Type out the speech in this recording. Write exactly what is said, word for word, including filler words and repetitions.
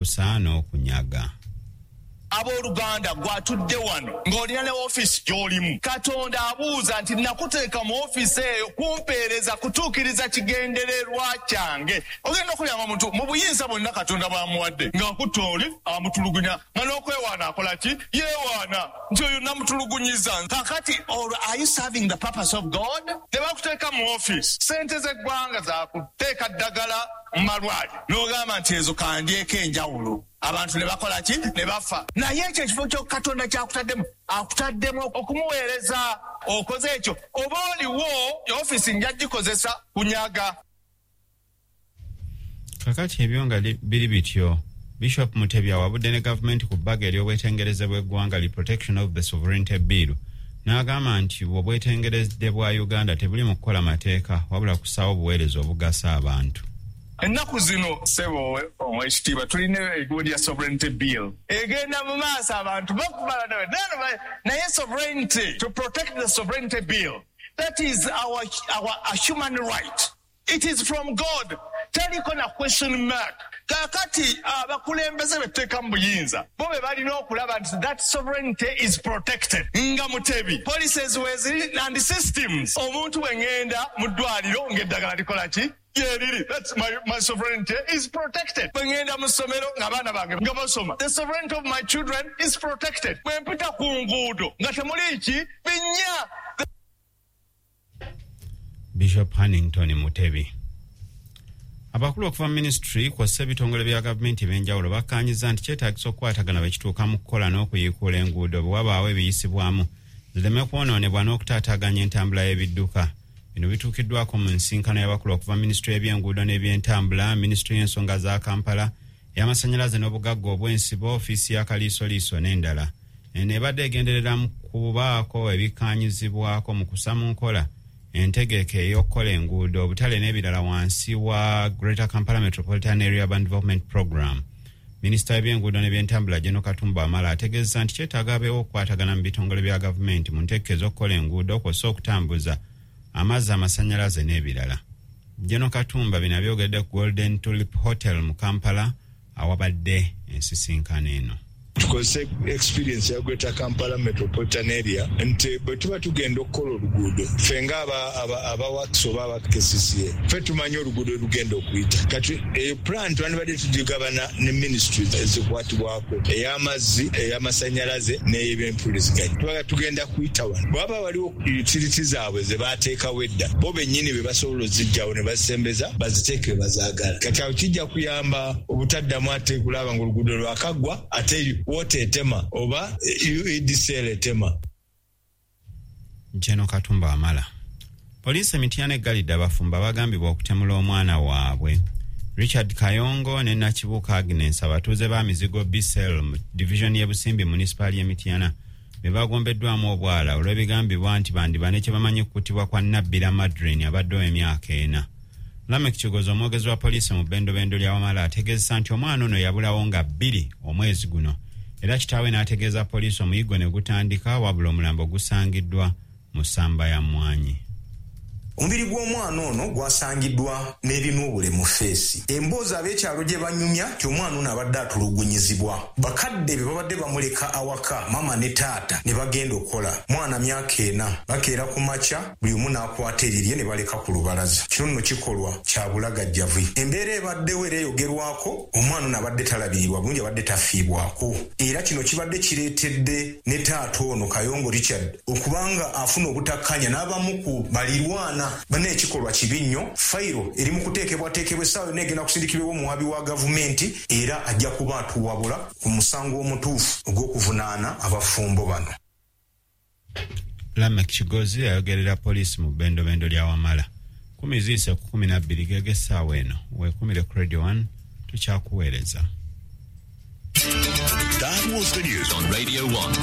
Okukusa n'okunyaga. Abooluganda, gwatudde wano ng'olina ne ofiisi gy'olimu, Katonda abuuza nti, "Nakuteeka mu ofiisi eyo kumpeereza, kutuukiriza kigendererwa kyange?" Ogenda okulyanga omuntu mu buyinza bwonna Katonda bw'amuwadde ng'akutta oli amutulugunya, nga n'okwewaana akola ki? Yeewaana nti oyo namutulugunyiza. Kakati olwo, are you serving the purpose of God? Tebakuteeka mu ofiisi, sente z'eggwanga zakuteeka ddagala mu malwaliro, n'ogamba nti ezo kandyeko enjawulo, abantu ne bakola ki? Ne bafa. Naye ekyo ekifo kyo Katonda kyakutaddemu, akutaddemu okumuweereza. Okoze ekyo oba oliwo ofiisi nja gikozesa kunyaga. Kakati ebyo nga biri bityo, Bishop Mutebi awabudde ne gavumenti ku bbaga ery'obwetengereze bw'eggwanga li Protection of the Sovereignty Bill, n'agamba nti obwetengerezde bwa Uganda tebuli mu kukola mateeka, wabula kusaawo obuweereza obugasa abantu. Ennaku zino, ssebo owekitiibwa, tulina egundi ya Sovereignty Bill egenda mu maaso, abantu bakubala, naye sovereignty, to protect the Sovereignty Bill, that is our, our a human right. It is from God, teriko na question mark. Kakati abakulembeze betuteeka mu buyinza bo be balina okulaba nti that sovereignty is protected. Nga Mutebi, policies weziri and systems, omuntu bwe ŋŋenda mu ddwaliro ng'eddagala likola ki? Yeriri. That's my, my sovereignty is protected. Bwe ŋŋenda mu ssomero ng'abaana bange nga basoma, the sovereignty of my children is protected. Bwe mpita ku nguudo nga temuli ki binnya. Bishop Hannington Mutebi. Abakulu okuva mu minisitule kw'ossa ebitongole bya gavumenti ebyenjawulo bakkaanyiza nti kyetaagisa okukwatagana bwe kituuka mu kukola n'okuyiikuula enguudo, bwe wabaawo ebiyisibwamu zireme kwonoonebwa n'okutaataaganya entambula y'ebidduka. Bino bituukiddwako mu nsinkano y'abakulu okuva minisitule y'ebyenguudo n'ebyentambula, minisitule y'ensonga za Kampala, ey'amasannyalaze n'obugagga obw'ensibo, ofiisi ya Kaliisoliiso n'endala. Eno ebadde egenderera mu kubaako ebikkaanyizibwako mu kussa mu nkola entegeka ey'okukola enguudo, obutale n'ebirala wansi wa Greater Kampala Metropolitan Area Urban Development Program. Minisita w'ebyenguudo n'ebyentambula, General Katumba Wamala, ategeeza nti kyetaaga abeewo okukwatagana mu bitongole bya gavumenti mu ntegeka ez'okukola enguudo, kw'ossa okutambuza amazzi, amasannyalaze n'ebirala. General Katumba bino abyogedde ku Golden Tulip Hotel mu Kampala awabadde ensisinkano eno. Tukozese experience ya Greater Kampala Metropolitan Area nti bwe tuba tugenda okukola oluguudo, ffe nga aba works oba aba K C C A, ffe tumanyi oluguudo olugenda okuyita. Kati eyo plan twandibadde tugigabana ne ministry ezikwatibwako, ey'amazzi, ey'amasanyalaze n'ey'ebyempuliziganya. Tubaga tugenda kuyita wano, bwaba waliwo utility zaabwe ze bateekawo edda, bo bennyini be basobola ozijjawo ne bazisembeza baziteeke bazaagala. Kati awo kijja kuyamba obutaddamu ate kulaba nga oluguudo lwakaggwa, ate water etema oba U E D C L etema. General Katumba Wamala. Poliisi Emityana eggalidde abafumbo abagambibwa okutemula omwana waabwe. Richard Kayongo ne Nakibuuka Agnes, abatuuze ba Mizigo Bcel mu divisioni y'e Busimbi, munisipaali y'Emityana, be bagombeddwamu obwala olw'ebigambibwa nti bandiba ne kye bamanyi kuttibwa kwa Nabbira Madrin abadde ow'emyaka ena. Lamek Kigozi, omwogezi wa poliisi mu bbendobendo lya Wamala, ategeezesa nti omwana ono yabulawo nga bbiri omwezi guno, era kitaawe n'ategeeza poliisi, omuyiggo ne gutandika, wabula omulambo gusangiddwa mu ssamba ya mmwanyi. Omubiri gw'omwana ono gwasangiddwa n'ebinuubule mu face. Emboozi ab'ekyalo gye banyumya ti omwana ono abadde atulugunyizibwa bakadde be, babadde bamuleka awaka, maama ne taata ne bagenda okukola. Mwana myaka ena, bakeera ku makya, buli omu n'akwata erirye ne baleka ku lubalaza. Kino nno kikolwa kya bulagajjavu. Embeera ebaddewo era eyogerwako, omwana ono abadde talabirirwa bulungi, abadde tafiibwako, era kino kibadde kireetedde ne taata ono Kayongo Richard okubanga afuna obutakkanya n'abamu ku balirwana. Banna, ekikolwa kibi nnyo. Fayiro eri mu kuteekebwateekebwa, essaawa yonna egenda kusindikibwawo omuwabi wa gavumenti, era ajja kuba atuwabula ku musango omutuufu ogw'okuvunaana abafumbo bano. Lamek Kigozi ayogerera poliisi mu bbendobendo lya Wamala. Kumi ziise ku kumi nabbiri gege essaawa eno. Weekumire ku Radio one, tukyakuweereza. That was the news on Radio one.